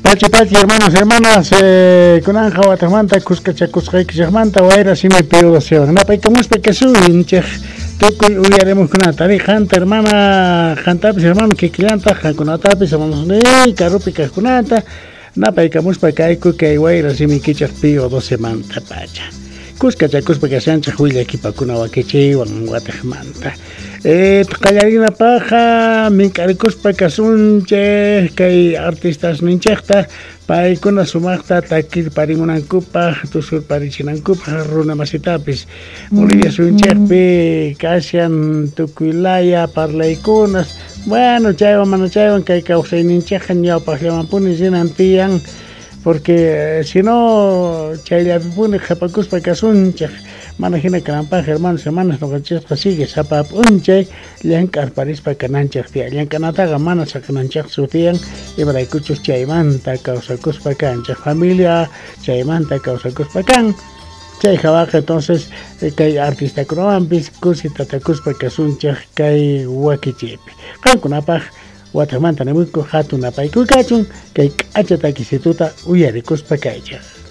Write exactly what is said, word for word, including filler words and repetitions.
Pachi pachi hermanos, hermanas, eh, kunanja watajmanta kuskachakusqaykichikmanta wayra simi Pío docewan. Napaykamuspa kasunchik tukuy uyarimujkunata ri qanta hermana, qantapis hermano kikillantaq qankunatapis hermanos ni karupi kaqkunata napaykamuspa kayku kay wayra simikichik Pío docemanta pacha. Kuskachakuspa kashanchik willakipakuna wakichiywan watajmanta. Eh, qallarinapaqqa mink'arikuspa kasunchik kay artistas ninchikta paykuna sumaqta takirparimunankupaq tusurparichinankupaq runa masitapis Bolivia suyunchikpi kashan tukuy laya parlaykunas bueno chaywan mana chaywan kay kawsayninchikqa ñawpaqllamanpuni rinan tiyan porque si no chayllapipuni qhipakuspa kasunchik mana hina kananpaq hermanos hermanas ñuqanchikqa sigue sapa p'unchay llank'arparispa kananchik tiyan llank'anataqa mana saqinanchikchu tiyan imaraykuchus chaymanta kawsakuspa kanchik familia chaymanta kawsakuspa kan chay hawaqa entonces kay artistakunawanpis kusi tatakuspa kasunchik kay wakichiypi qankunapaq watajmanta nimuyku hatun napaykuy kachun kay k'acha takisituta uyarikuspa kaychik.